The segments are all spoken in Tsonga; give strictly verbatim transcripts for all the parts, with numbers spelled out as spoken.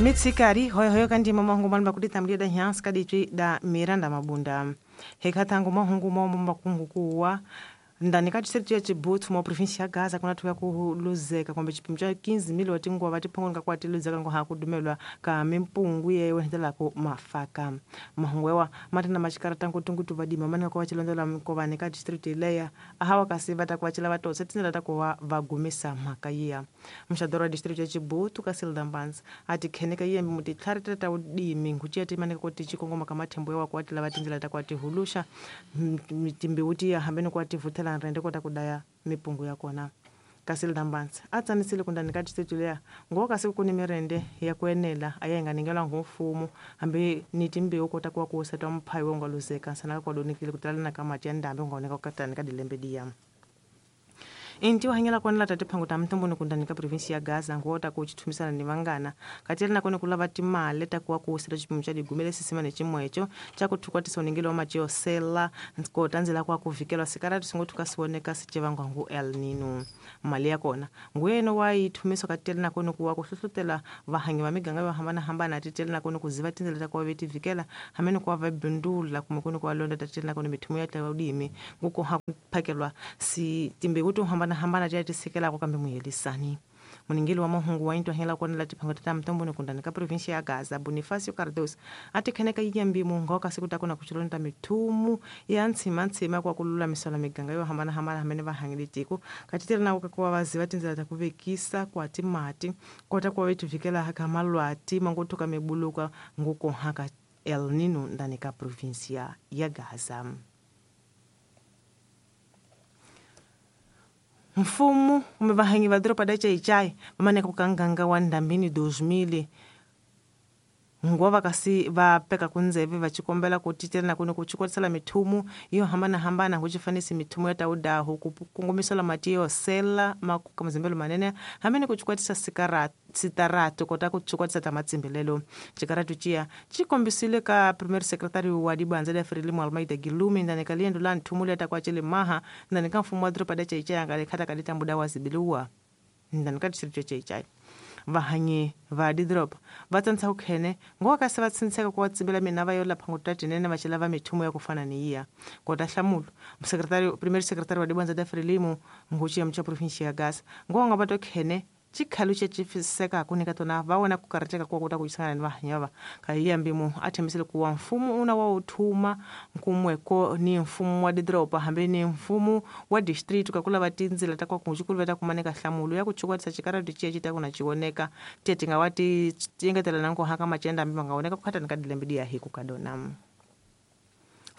Mitsikari hoyohoyo kandi mahungu malumba kuditambulira da nyansi kadicwi da Miranda Mabunda hekhatangu mahungu momba kungukuwa ndani ka distrito ya Chibutu mo província ya Gaza kuna thuka ku luzeka kumbe xipimo xa quinze mil wa tinguva va tiphongoni ka kwa ti luzeka ngo ha ku dumelwa ka mimpungu yeyo hendelako mafaka mahungu yawa ma ri na maxikarata ngutungutu vadima mani ka ku va xilondzela mikovani ka distrito leya ahawa kasi va ta ku va cela va tose tindlela ta ku va va gumisa mhaka yiya muxadoro wa distrito ya Chibutu ka Silda Mbanzi a ti kheneka yembi mutitlhari ta ta vudimi nguciya ti maneka ku ti xikongoma ka mathembo yawa ku va ti lava tindlela ta ku va ti huluxa timbewu ti ya hambi ni ku va ti vuthela rende kota ku daya mipungu ya kona kasi Mbanzi a tsanisile ku ndani ka distrito leya ngo kasi ku ni mirende ya ku enela a ya yi nga ningelwa ngo mfumo hambi ni timbewu kota ku va ku wisa twa mphayi wo nga luzeka nsana ka kwadonekile ku talana ka mati ya ndhambi nga oneka ku katani ka dilembe diya inti wa hanyela kona lata tiphango ta mtumbuni kundani ka provinsi ya Gaza ngota ku chithumisana ni vangana katela nakone kulava timali ta kuwa ku usela xipimo xa digume lesisima ni ximwecho xa ku thukwatisa uningelo wa mati yo sela kota ndzela kwa ku vikelwa sikarati swi ngo thuka swi voneka swi cevangwa ngu El Nino mali ya kona nguyeno wa yi thumiswa katela nakone ku wa ku hlohlotela vahanyi va miganga yo hambanahambana titela nakone ku ziva tindlela ta ku va ve ti vikela hambi ni ku va va bindula kumbe ku ni ku va londa ta titela nakone mithumo ya tla vudimi nguku ha ku phakelwa si timbewu to hambana hambana tiya ti sikelako kambe muhelisani muningeli wa mahungu wa into hela kona la tiphango ta mtomboni kundani ka provinsia ya Gaza Bonifacio Cardoso a ti kheneka yiyambi mungu kasi ku ta kona ku xilonda mithumu ya ntshima ntshima kwa ku lulamisela miganga yo hambanahambana hamene va hangile tiko katitela na ku va vaziva tindlela ta ku vekisa kwa timati kota ku va ti vikela ka malwati mangothuka mibuluka ngukohaka El Nino ndani ka provinsia ya Gaza. Mfumo kumbe vahanyi va doroba da Chaichai va maneka ku kanganga wa ndhambini dois mil ngova kasi va peka kundzeve va xikombela ku titela na kuni ku xikotisela mithumu yo hambanahambana ku xifanisi mithumu ya tawudaho ku kongomisela mati yo sela makuka mazimbelo manene hambi ni ku xikwatisa sitaratu kota ku xikwatisa ta matsimbelelo xikaratu ciya xi kombisile ka premier secretary wa dibandza la Frelimo Almeida Gilumi ndani ka liendo la nthumu leta kwa Chilimaha ndani ka mfumo wa doroba da Chaichai nga le khata ka litambuda wa zibiliwa ndani ka distrito ya Chaichai vahanyi va didropa va tsantsa ku khene ngo ka se va tsintseka ku va tsimbela mina va yo lapha ngo tinene va xela va mithumo ya ku fana ni yiya kota hlamulo secretary premier secretary wa dibandza da Frelimo nguchi ya mcha province ya Gaza ngo nga va to khene xikhalu xa xifiseka ku nyika tona va wona ku karhateka ku kota ku xisana ni vahanyi va ka yiyambi mu a thembisile ku wa mfumo una wa wu thuma nkumweko ni mfumo wa didropa hambi ni mfumo wa district ka ku lava tindzela ta kwa ku xikulu va ta kumaneka hlamulo ya ku chukwatisa xikarati xiya xi ta ku na xi voneka tiya ti nga wa ti engetela na nkohaka macenda hambi ma nga voneka ku khatani ka dilembe diya hi ku ka dona.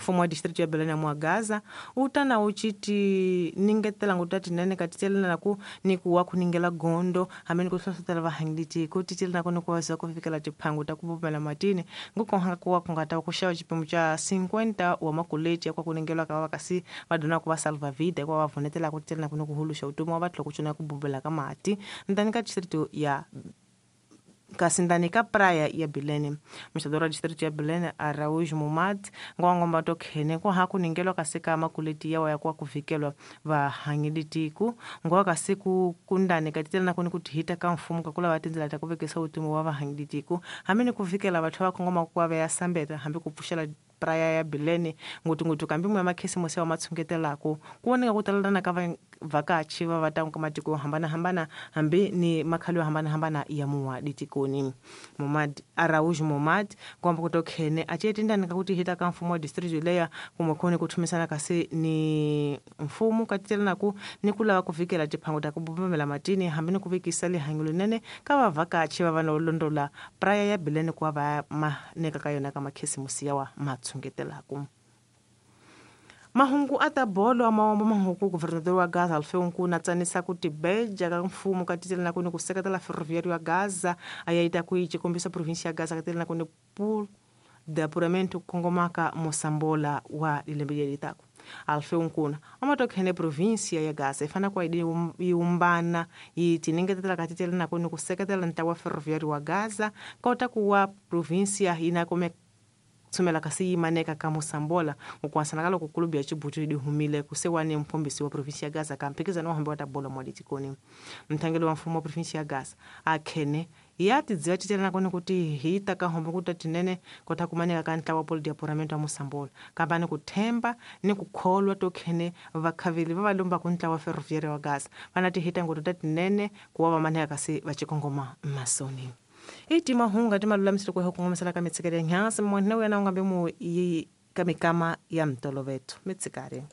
Mfumo wa distrito ya Belém mwa Gaza wu ta na wu xi ningetela ngo ta tinene ka titelana na ku ni ku wa ku ningela gondo hambi ni ku hlohlotela vahanyi tiko titelana ku ni ku va ku fikela tiphangu ta ku pfumela matini ngukohanga ku wa ku nga ta ku xava xipimo xa cinquenta wa makuleti ya kwa ku ningelwa ka va kasi va dona ku va salva vida kwa va vunetela ku titelana ku ni ku huluxa vutomi wa va tlhela ku cuna ku bubela ka mati ndani ka distrito ya kasi ndani ka praia ya Belém muxadoro wa distrito ya Belém Araújo Momad ngwangomba to khene ku ha ku ningelwa kasi ka makuleti yawa ya kwa ku vikelwa vahanyi tiko ngwa kasi ku kundani ka titela na ku ni ku hita ka mfumo ka ku lava tindlela ta ku vekisa vutomi wa vahanyi tiko hambi ni ku vikela vathu va khongoma ku va ya sambeta hambi ku pfuxela praia ya Belém ngutungutu kambi mwe makhisimusi wa matshungetelako ku voneka ku talelana ka vakachi va va ta ka matiko yo hambanahambana hambi ni makhalo yo hambanahambana ya muwa ditikoni Momad Araújo Momad kwamba ku to khene a cetindani ka ku tihita ka mfumo wa distrito leya kumwe khoni ku thumisana kasi ni mfumo ka titelana ku ni ku lava ku vikela tiphangu ta ku bubamela matini hambi ni ku vekisa lihanyo linene ka vavhakachi va va no londola praia ya Belém ku va va maneka ka yona ka makhisimusi yawa matshungetelako. Mahungu ata bolo amawambo mahungu governador wa Gaza Alfeu Nkuna tsanisa ku tibeja ka mfumo ka titelana ku ni ku seketela ferroviário ya Gaza ayaita ku yi xikombisa província ya Gaza ka titelana ku ni pool de apuramento kongomaka Mosambola wa lembe leri taka. Alfeu Nkuna amatokhene província ya Gaza ifana kwa yi umbana yi tiningetela ka titelana ku ni ku seketela ntlawa wa ferroviário wa Gaza kota ku wa província yina kume tsumela kasi yi maneka ka Mosambola ukuasana ka loko kulubu ya Chibutu yi humile kusewani mphombisi wa província ya Gaza ka mphikizano wa hambi wa ta bolo mwa ditikoni mthangeli wa mfumo wa província ya Gaza a khene Ya tidziva titela nakoni kuti hita ka hombo kuta tinene kota kumaneka ka ntlawa polo diapuramento wa Mosambola kamba ni ku themba ni ku kholwa to khene vakhaveli va va lomba ku ntlawa Ferroviária wa Gaza vana tihita ngoto ta tinene ku wa va maneka kasi va chikongoma masoni i timahunga ti malulamisile ku kongomisela ka mitshikelo ya nyhasi munhu wena u nga be mu yi ka mikama ya mtoloveto mitshikari.